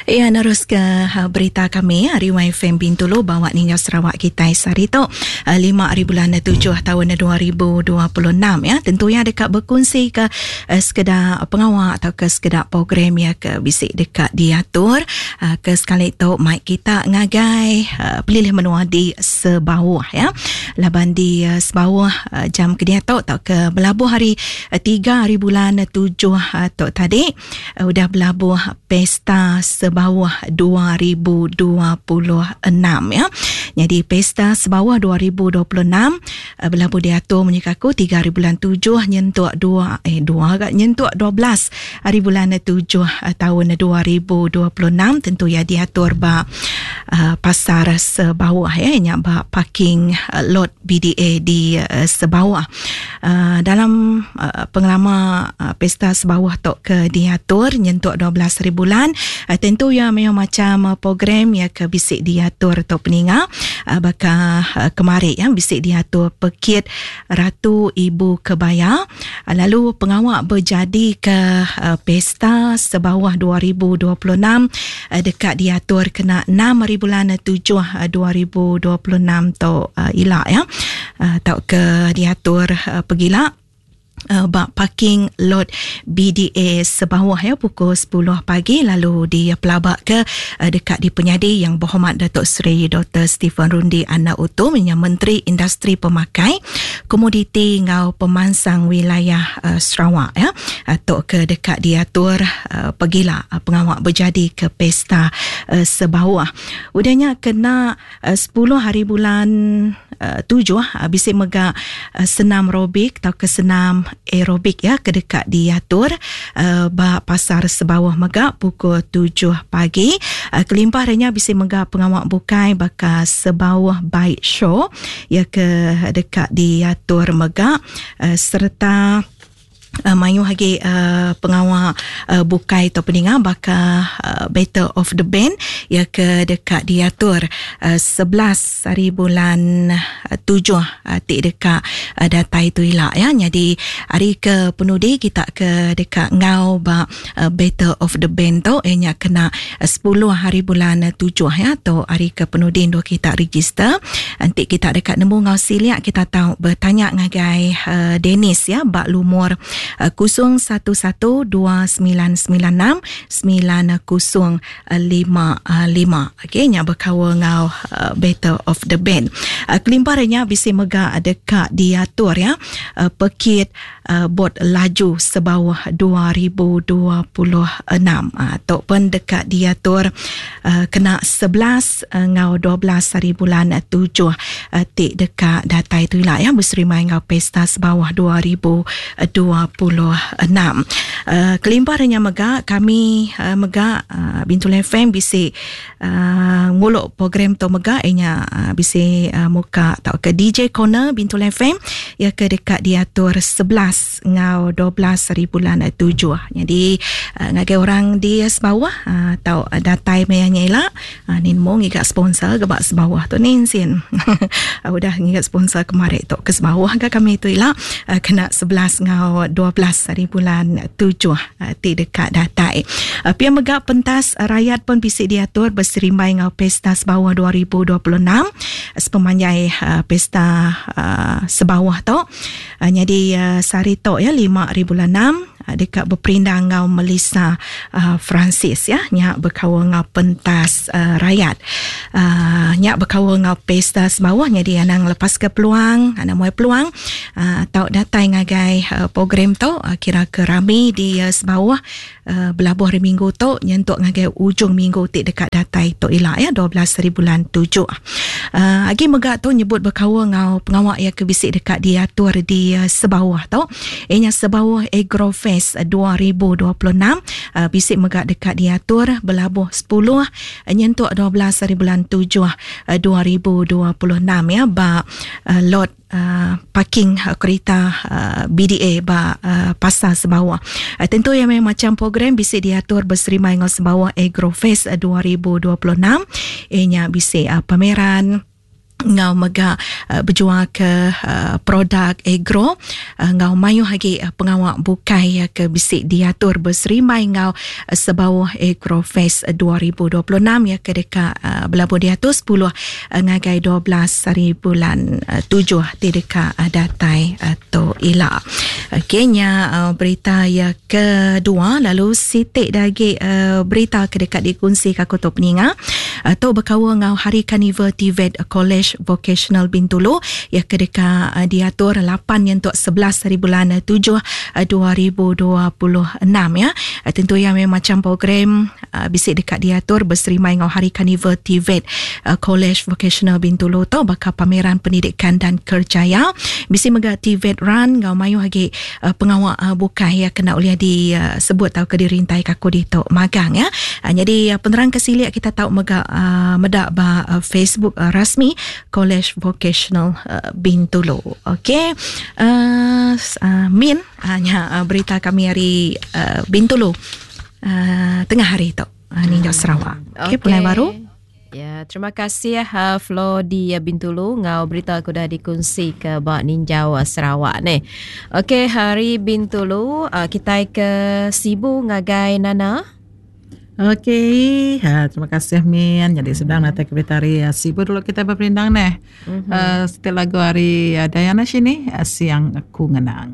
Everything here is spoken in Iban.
Iya neruska berita kami ari YFM Bintulu bawa ninga Sarawak kitai sehari tu 5 hari bulan 7 taun 2026 ya. Tentu iya deka bekunsi ke sekeda pengawa atau ke sekeda program ya ke bisi deka diatur ke sekali tu mai kita ngagai pelilih menua di Sebauh ya. Laban di Sebauh jam ke diatu tauka belabuh hari 3 hari bulan 7 tu tadi udah belabuh Pesta Sebauh 2026 ya. Jadi Pesta Sebauh 2026 belabuh diatur munyi ke aku 3 hari bulan 7 nyentuk 2 eh 2 ga nyentuk 12 hari bulan 7 taun 2026 tentu iya diatur ba uh, pasar Sebauh ya nya ba parking lot BDA di uh, Sebauh. Uh, dalam uh, pengelama uh, pesta sebawah tu ke diatur nyentuk 12 hari bulan uh, tentu ya mayuh macam uh, program ya ke bisi diatur tu peninga uh, baka uh, kemari ya bisi diatur pekit Ratu Ibu Kebaya uh, lalu pengawa berjadi ke uh, pesta sebawah 2026 uh, deka diatur kena 6 hari bulan 7 uh, 2026 tu uh, ila ya uh, tauka diatur uh, pegila uh, ba parking lot BDA Sebawah ya pukul 10 pagi lalu dipelaba ke uh, dekat di penyadi yang berhormat Datuk Seri Dr. Stephen Rundi Anak Utum yang Menteri Industri Pemakai Komoditi ngau Pemansang Wilayah uh, Sarawak ya atau ke dekat diatur uh, pegila uh, pengawak berjadi ke pesta uh, Sebawah. Udahnya kena 10 hari bulan 7 bisi mega senam aerobik tauka senam aerobik ya ke deka diatur ba pasar Sebauh mega pukul 7 pagi. Kelimpah ari nya bisi mega pengawa bukai baka Sebauh Bike Show ya ke deka diatur mega sereta mayuh agi pengawa bukai tau peninga baka Battle of the Band iya ke deka diatur 11 hari bulan 7 ti deka datai tu ila ya. Nyadi hari ke penudi kita ke deka enggau ba Battle of the Band tu iya nya kena 10 hari bulan 7 ya tu hari ke penudi endur kita register. Enti kita deka nemu enggau silik kita tau betanya ngagai Dennis ya ba lumur 011 2996 9055. Okey nya bekaul enggau Battle of the Band. Kelimpah ari nya bisi mega deka diatur ya pekit bot laju sebauh 2026. Tu pun deka diatur kena 11 enggau 12 hari bulan 7 ti deka datai tu ila ya beserimai enggau Pesta Sebauh 2026. Kelimpah ari nya mega kami mega Bintulu FM bisi ngulu program tu mega iya nya bisi muka tauka DJ Corner Bintulu FM iya ke deka diatur 11 enggau 12 hari bulan 7. Nyadi ngagai orang di Sebauh tau datai maya nya ila ni nemu ngiga sponsor ke ba Sebauh tu ni sin. Udah ngiga sponsor kemari tu ke Sebauh ga kami tu ila kena 11 enggau 12 hari bulan 7 ti deka datai. Pia mega pentas rayat pun bisi diatur beserimbai enggau Pesta Sebauh 2026 sepemanjai Pesta Sebauh tu. Nyadi sehari tu ya 5 hari bulan 6 deka beperindang enggau Melissa Francis ya nya bekaul enggau pentas rayat. Nya bekaul enggau Pesta Sebauh nyadi anang lepaska peluang, anang muai peluang tau datai ngagai program tu kira ke rami di Sebauh belabuh hari minggu tu nyentuk ngagai ujung minggu ti deka datai tu ila ya 12 hari bulan 7. Uh, agi mega tu nyebut bekaul enggau pengawa iya ke bisi deka diatur di uh, Sebauh tu. Iya nya Sebauh Agrofest 2026 uh, bisi mega deka diatur belabuh 10 nyentuk 12 hari bulan 7 uh, 2026 ya ba uh, lot parking kerita BDA ba pasar Sebawah. Tentu iya meh macam program bisi diatur beserimbai enggau Sebawah Agrofest 2026 iya nya bisi pameran. Enggau mega bejual ke produk agro enggau mayuh agi pengawa bukai ke bisi diatur beserimbai enggau Sebauh Agro Fest 2026 iya ke deka belabuh diatur 10 ngagai 12 hari bulan 7 ti deka datai tu ila. Okey nya berita iya kedua lalu siti da agi berita ke deka dikongsi ka aku tu peninga. Tu bekaul enggau Hari Karnival TVET Kolej Vokasional Bintulu iya ke deka diatur 8 nyentuk 11 hari bulan 7 2026 ya. Tentu iya meh macham program bisi deka diatur beserimbai enggau Hari Karnival TVET Kolej Vokasional Bintulu tu baka pameran pendidikan dan kerjaya. Bisi mega TVET Run enggau mayuh agi pengawa bukai iya kena ulih disebut tauka dirintaika aku ditu magang ya. Nyadi penerang ke silik kita tau mega meda ba Facebook rasmi Kolej Vokasional Bintulu. Okey. Min nya berita kami ari Bintulu tengah hari tu ninjau Sarawak. Okey pulai baru. Ya, terima kasih uh, Flo di uh, Bintulu ngau berita aku dah dikunsi ke ba Ninjau uh, Sarawak ni. Okey, hari Bintulu uh, kita ke Sibu ngagai Nana. Okey, ha, terima kasih Min. Jadi sedang datang ke berita hari uh, Sibu dulu kita berperindang neh. Mm-hmm. Uh, setiap lagu hari uh, Dayana sini uh, siang aku ngenang.